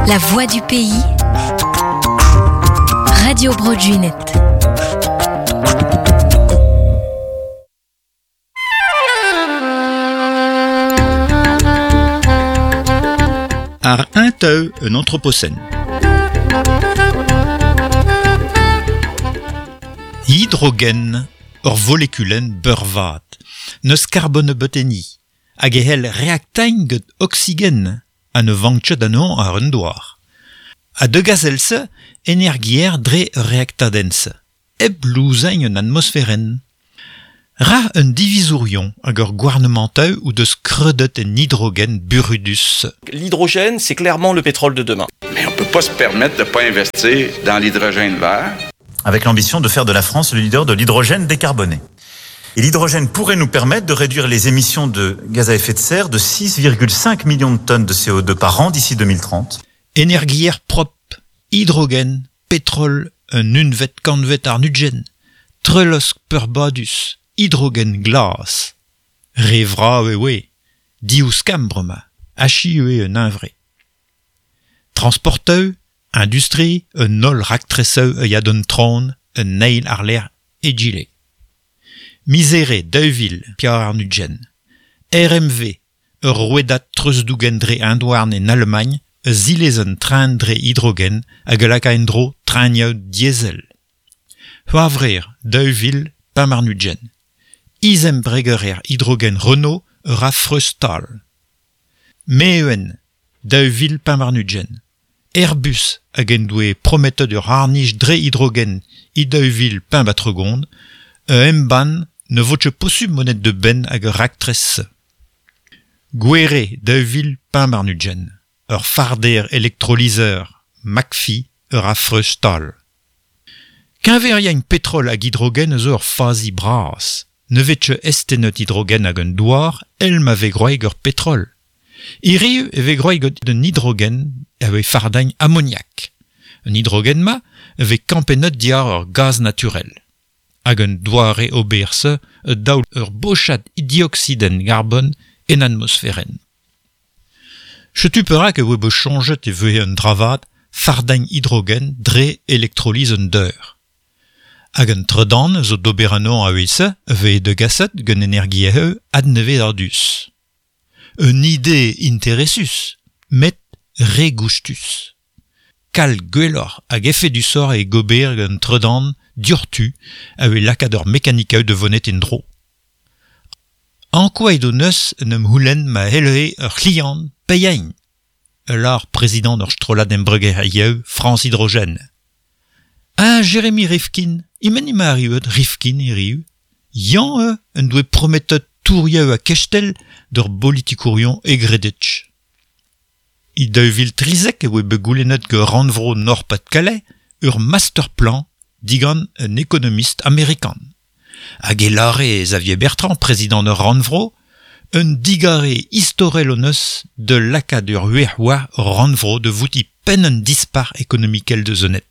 La voix du pays. Radio Bro Gwened. Ar un teu un anthropocène. Hidrogen, ur volekulenn beurvat, n'eus karbon ebet enni, hag e c'hell reaktañ gant oksigen ha ne vank ket anezhañ àr un douar. Ha degas èl-se energier dre ur reaktadenn-se, hep louzañ un atmosferenn. Ra un divizourion hag ur gouarnamantoù o deus kreudet en hidrogen burudus. L'hydrogène, c'est clairement le pétrole de demain. Mais on peut pas se permettre de pas investir dans l'hydrogène vert. Avec l'ambition de faire de la France le leader de l'hydrogène décarboné. Et l'hydrogène pourrait nous permettre de réduire les émissions de gaz à effet de serre de 6,5 millions de tonnes de CO2 par an d'ici 2030. Energier propre, hidrogen, petrol, un unvet kantvet àr-ugent, trelosk peurbadus, hidrogen glas. Re vrav e oe, div skamm bremañ, achiu eo un hunvre. Transportoù, industri, un holl raktresoù a ya d'an traoñ un eil àr-lerc'h egile. Miz Here 2024, RMV, ur rouedad treuzdougen dre hent-houarn en Alamagn, a zilez un tren dre hidrogen hag a laka en-dro trenioù diesel. C'hwevrer 2025, Izembregerer hidrogen Renault a ra freuz-stal. Meven 2025, Airbus hag en doe prometet ur c'harr-nij dre hidrogen e 2035 a embann ne vo ket posupl monet da benn ag ar raktres-se. Gouhere 2025, ur farder elektrolizer McPhy a ra freuz-stal. Keñveriañ petrol hag hidrogen a zo ur fazi bras. Ne vez ket eztennet hidrogen ag an douar èl ma vez gwraet gant petrol. Hiriv e vez gwraet gant un hidrogen a vez fardañ amoniak. An hidrogen-mañ a vez kampennet diàr ur gaz naturel. Hag an doare ober-se a daol ur bochad dioksidenn garbon en atmosferenn. Setu perak e voe bet soñjet e vehe un dra vat fardañ hidrogen dre elektroliz an deur. Hag an tredan zo d'ober anezhañ a-wezh a vez degaset gant energiezhioù adnevezadus. Un ide interesus, met re goustus. Kalz gwelloc'h hag efedusoc'h eo gober gant tredan dioc'htu a vez lakaat ur mekanikaoù da vonet en-dro. Ankouaet hon eus en em c'houlenn ma c'hellehe ur c'hliant paeañ, a lâr prezidant ur strollad embregerezhioù France Hydrogène. Ha Jeremy Rifkin, e-men emañ arriuet Rifkin hiriv? Yañ eo en doe prometet tourioù ha kestell d'ur bolitikourion hegredek. E 2013 e voe bet goulennet gant rannvro Nord-Pas-de-Calais ur masterplan digant un ekonomist amerikan. Hag e lâre Xavier Bertrand, prezidant ur rannvro, un digarez istorel hon eus da lakaat ur wech war ur rannvro da voutiñ penn un dispac'h ekonomikel da zonet.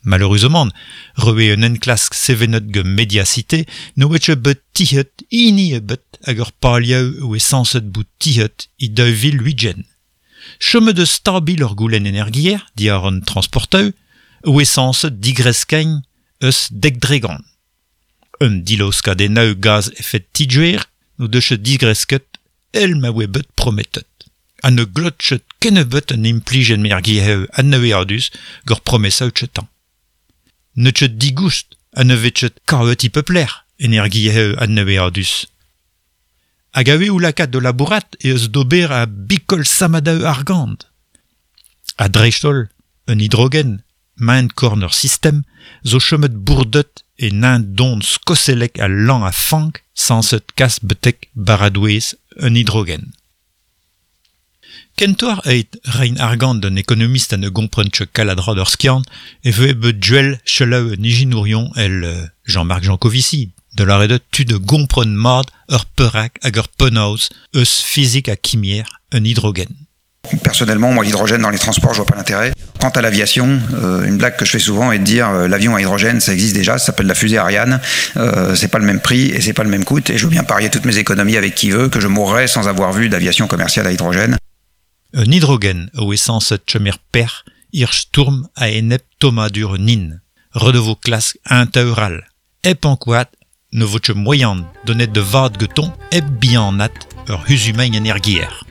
Maleüruzamant, rewe un enklask sevenet gant Mediacité ne oa ket bet tizhet hini ebet hag ur palioù e oa sañset bout tizhet e 2020. Chomet eus stabil ur goulenn energier diàr an transportoù e oa sañset digreskañ eus 10%. Un dilaoskadennoù gaz efed ti-gwer n'o deus ket digresket èl ma oa bet prometet. Ha ne glot ket kennebeut an implij energiezhioù adnevezadus gant promesaoù kentañ. N'eo ket digoust ha ne vez ket kavet e pep lec'h energiezhioù adnevezadus. Hag a-wechoù lakaat da labourat eh eus d'ober a bikol sammadoù argant. Ha dreist-holl, un hidrogen, maen-korn ur sistem, zo chomet bourdet e neñv don skosellek ha lan a fank sañset kas betek baradoez un hidrogen. Kentoc'h evit reiñ argant d'un ekonomist ha ne gompren ket kalz a dra d'ur skiant e vehe bet gwell selaou un ijinourion èl Jean-Marc Jancovici, da lâret eo tud a gompren mat ur perak hag ur penaos eus fizik ha kimier un hidrogen. Personnellement, moi, l'hydrogène dans les transports, je vois pas l'intérêt. Quant à l'aviation, euh, une blague que je fais souvent est de dire euh, l'avion à hydrogène, ça existe déjà, ça s'appelle la fusée Ariane, euh, c'est pas le même prix et c'est pas le même coût, et je veux bien parier toutes mes économies avec qui veut que je mourrai sans avoir vu d'aviation commerciale à hydrogène. Un hidrogen a oe sañset chom er peoc'h ir stourm a-enep tommadur an hin. Ret e vo klask un teur all. Hep ankouaat ne vo ket moaian donet da vat gantañ hep bihanaat ur c'huzumeiñ energiezh.